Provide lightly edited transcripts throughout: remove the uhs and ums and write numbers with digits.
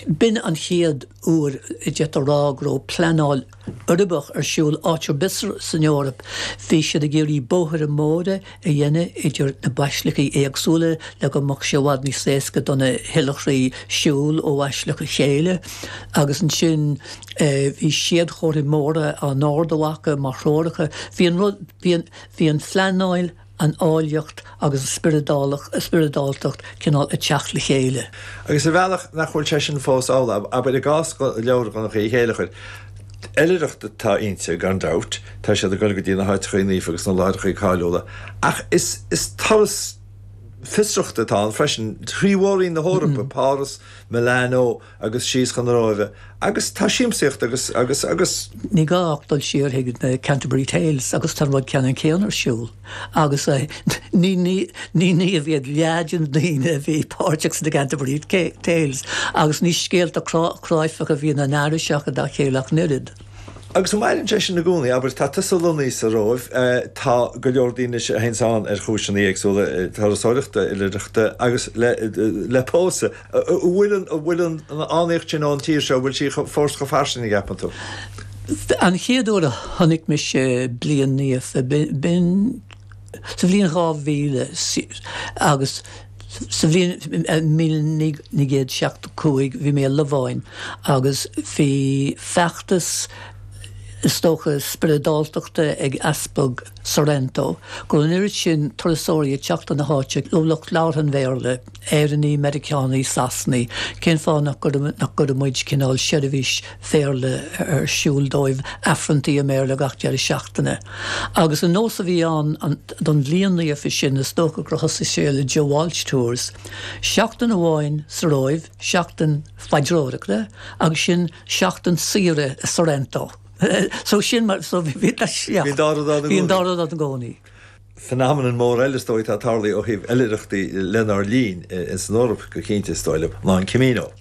B'in an chéad uair a d'fhéadfá a rá go raibh pleanáil uirbeach ar siúl áit ar bith san Eoraip. Bhí siad ag iarraidh bóithre móra a dhéanamh idir na baisleacaí éagsúla le go mbeadh sé i bhfad níos éasca do na hoilithrigh siúl ó bhaisleac a chéile agus ansin bhí séadchomharthaí móra á n-ardú acu mar threoracha. Bhí an rud, bhí an, bhí an phleanáil, an áilleacht agus an spioradáltacht cineál ag teacht le chéile. Agus ar bhealach nach bhfuil sé sin fós amhlaidh, abair i gcás leabhar Dhonncha Uí Chéilleachair, oilithreacht atá inti, gan dabht, tá siad ag dul go dtí na háiteachaí naofa agus na láithreachaí cáiliúla, ach is is turas fiosrachta atá ann freisin, trí mhór-roinn na hEorpa, Páras, Milano, agus síos chun na Róimhe agus tá siamsaíocht agus, agus, agus. Ní gá ach dul siar chuig na Canterbury Tales agus tá an rud ceannann céanna ar siúl agus ní, ní, ní naoimh iad leath de na daoine a bhí páirteach sna Canterbury Tales agus ní scéalta cráifeacha a bhí ina n-aithris acu dá chéile ach an oiread. Agus an maireann sé sin i gcónaí? Abair, tá tusa lonnaithe sa Róimh, tá go leor daoine a théanns ann ar chúiseanna éagsúla, turasóireachta, oilithreachta agus le, le pósadh. An bhfuil an, an bhfuil an fhánaíocht sin ón tír seo, an bhfuil sí fós chomh fairsing, an gceapann tú? An chéad uair a chonaic mise Bliain Naofa, b'in sa bhliain 2000 agus Sa bhliain 1975 bhí mé i Lováin agus bhí feachtas, is dócha, spioradáltachta ag Easpag Sorrento go raibh an oiread sin turasóirí ag teacht chun na háite, lucht labhartha an Bhéarla, Éireannaigh, Meiriceánaigh, Sasanaigh, cén fáth nach gcuireadh muid cineál seirbhís Bhéarla ar siúl dóibh, Aifreanntaí i mBéarla gach deireadh seachtaine. Agus an nós a bhí ann don Bhliain Naofa sin, is dócha gur thosaigh sé le Joe Walsh Tours, seachtain amháin sa Róimh, seachtain phaidreoireachta agus sin seachtain saoire i Sorrento. So sin mar, so bhí, yeah. Bhí an dá rud ann i gcónaí. Bhí an dá rud ann i gcónaí. Phenomenon mór eile is dóigh atá tarlaithe ó thaobh oilithreachtaí lenár linn, ins an Eoraip go cinnte is dóigh liom, ná an Camino.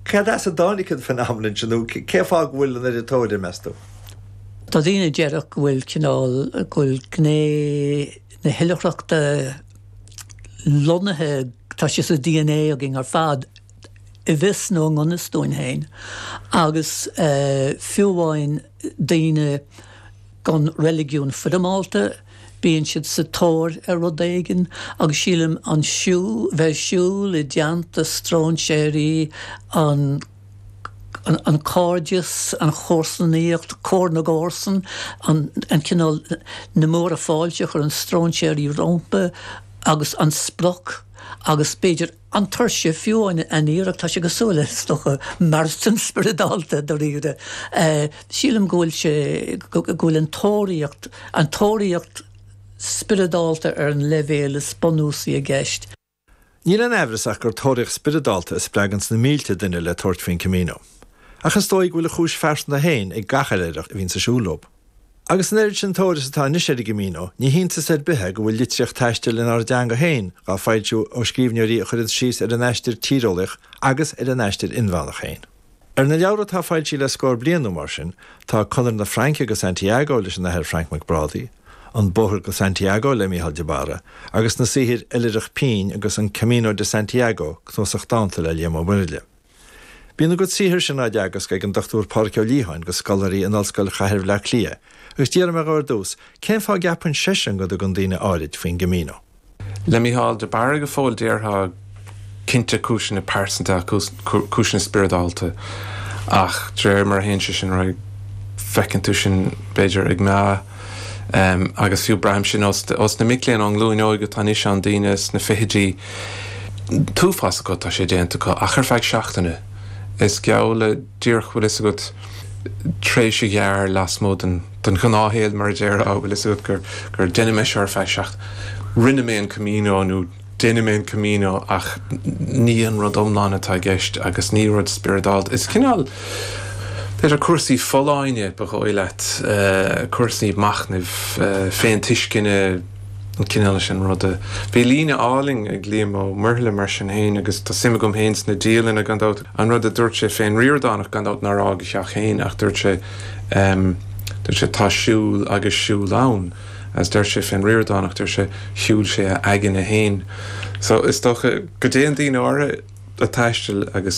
Cad as a dtáinig an phenomenon sin nó cén fáth go bhfuil an oiread tóir air, meas tú? Tá daoine a déarfadh go bhfuil cineál, go bhfuil gné na hoilithreachta lonnaithe, tá sé sa dna againn ar fad, i bhfios nó i ngan fhios dúinn féin, agus fiú amháin daoine, gan reiligiún foirmeálta, bíonn siad sa tóir ar rud éigin agus sílim an siúl, bheith ag siúl i dteannta stróinséirí, an an cairdeas, an chomharsanaíocht, comhar na gcomharsan, an an cineál na múra fáilte a chuireann stróinséirí rompu agus an sprioc agus b'fhéidir An tuirse, fiú amháin an iarracht, tá sé cosúil le, is dócha, maratón spioradálta dáiríre. Sílim go bhfuil sé, go bhfuil an tóraíocht, an tóraíocht spioradálta ar an leibhéal is bunúsaí i gceist. Níl aon aimhreas ach gur tóraíocht spioradálta a spreaganns na mílte duine le tabhairt faoin Camino. Ach is dóigh go bhfuil a chúis phearsanta féin ag gach oilithreach a bhíonns ag siúl leo. Agus an oiread sin tóir is atá anois ar an gCamino, ní hiontas ar bith é go bhfuil litríocht taistil inár dteanga féin dhá foilsiú ó scríbhneoirí a chuireanns síos ar a n-aistear tíreolaíoch agus ar a n-aistear inmheánach féin. Ar na leabhra atá foilsithe le scór bliain nó mar sin, tá Conair na Fraince go Santiago leis an Athair Frainc Mac Brádaigh, An Bóthar go Santiago le Mícheál de Barra, agus na saothair Oilithreacht Pinn agus An Camino de Santiago, cnuasach dánta le Liam Ó Muirthile. Bíonn a gcuid saothar sin á dteagasc ag an Dr Pádraig Ó Liatháin go scoláirí in Ollscoil Chathair Bhaile Átha Cliath agus d'iarr mé dhó ar dtús cén fáth a gceapann seisean go dtugann daoine áirid faoin gCamino. Le Mícheál de Barra go fóill déarfá cinnte cúiseanna pearsanta cúiseanna spioradálta ach de réir mar a théann sé sin ar aghaidh feiceann tú sin b'fhéidir ag meath agus fiú braithim sin ós na mic léinn ón nglúin óig atá anois ann daoine sna fichidí an t-uafás acu, tá sé déanta acu, ach ar feadh seachtaine. Is geall le díreach, bhfuil fhios agat, tréimhse ghearr lasmuigh den, den ghnáthshaol mar a déarfá, bhfuil fhios agat, gur, gur déanfaidh mé seo ar feadh seachtaine. Rinne mé an Camino nó déanfaidh mé an Camino ach ní an rud iomlán atá i gceist agus ní rud spioradálta. Is cineál, b'fhéidir cúrsaí folláine ba dhóigh leat, cúrsaí machnaimh, féintuisceana, an cineál sin ruda. Bhí líne álainn ag Liam Ó Muirthile mar sin féin agus tá suim agam féin sna dialanna gan dabht. An rud a dúirt sé fén Ríordánach gan dabht nár fhág a theach féin ach dúirt sé ehm dúirt sé tá siúl agus siúl ann agus deir sé fén Ríordánach deir sé shiúil sé a aigne féin. So is dócha go dtéann daoine áirithe ag taisteal agus.